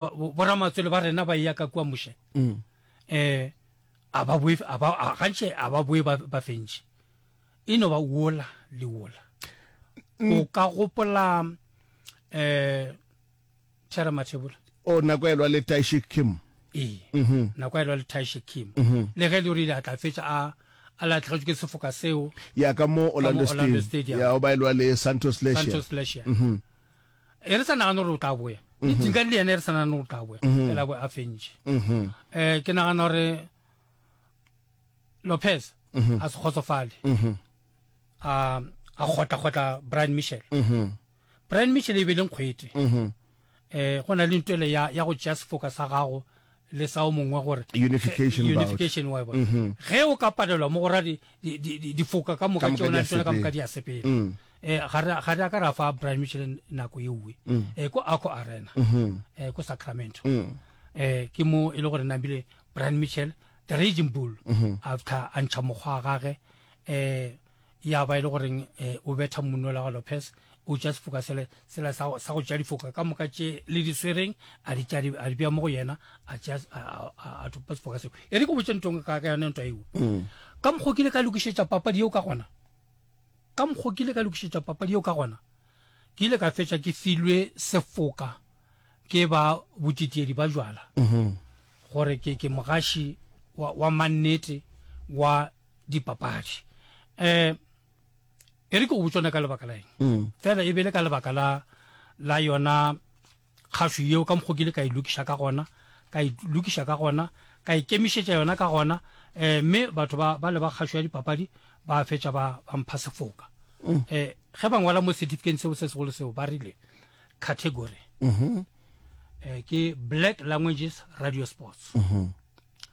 Boramatswele ba rena ba eya ka kua Moshe, um a ba boe, a ba, gantši a ba boe ba, ba fentše. E no ba wola le wola. O ka gopola um Thera Mathebula? O nako a elwa le Taishik Kim. Ee, nako a elwa le Taishik Kim. Le ge e le gore ile a tla fetša a, a lahlegetšwe ke sefoka seo. Ya ka mo Orlando Orlando Stadium. Stadium. Ya, o ba elwa le Santos Lecia. Santos Lecia. E re sa nagane gore o tla boya. Le Dingane le yena e re sa nagane gore o tla boya. Fela bo a fentše. Eh ke nagana gore Lopez a se kgotsofale. A a kgotla kgotla Brian Mitchell. Brian Mitchell e be le nkgwete. Eh go na le ntwele ya ya go tšea sefoka sa gago le sa o mongwe gore Unification bout. unification wa bona. Ge o ka palelwa mo go ra di di di difoka ka moka Ka moka tšeo di a na tsona ka moka sepela. di a sepela. Eh ga re ga re a ka ra fa Brian Mitchell nako ye nngwe. Eh ko Arco Arena. Eh ko Sacramento. Eh ke mo e le gore nambile Brian Mitchell the Raging Bull after a ntšha mokgwa wa gage eh ya ba e le goreng eh, o betha monnola wa Lopez o tša sefoka sele sela sa sa go tša difoka ka moka tše le di swereng a di tša a di bea mo go yena a tša a a thopa sefoka seo e re ke botše ntong ka ka yone ntwa eo ka mokgwa ke ile ka lokišetša papadi yeo ka gona ka mokgwa ke ile ka lokišetša papadi yeo ka gona ke ile ka fetša ke filwe sefoka ke ba botitiedi ba jwala gore ke ke mogaši wa, wa mannete wa dipapadi um e re ke go botsona ka lebaka la eng mm. fela e bele ka lebaka la la yona kgašo yeo ka mokgwa ke ile ka e lokiša ka gona ka e lokiša ka gona ka ikemišetša yona ka gona um mme batho ba ba le ba kgašo ya dipapadi ba fetša ba ba mpha sefoka um ge ba ngwala mo certificate seo se segolo seo ba rile category mm -hmm. ke black languages radio sports mm -hmm.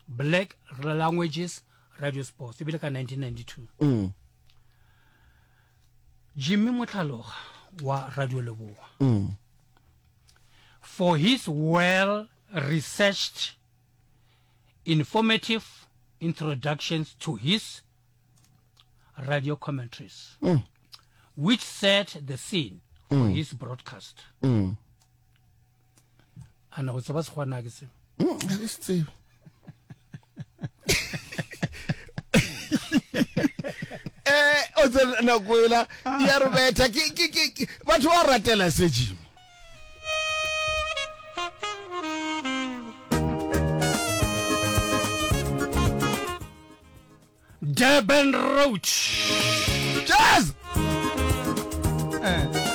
Black Languages Radio Sports e bile ka 1992 mm. Jimmy Motlhaloga wa Radio Leboa mm. for his well researched informative introductions to his radio commentaries mm. which set the scene for mm. his broadcast mm. A na go tseba sekgwa na ke se? Mm, ga ke se tsebe. Eh, o tsena nako ela ya re betha ke ke ke batho ba ratela se Jimmy. Durban Road. Jazz. Eh.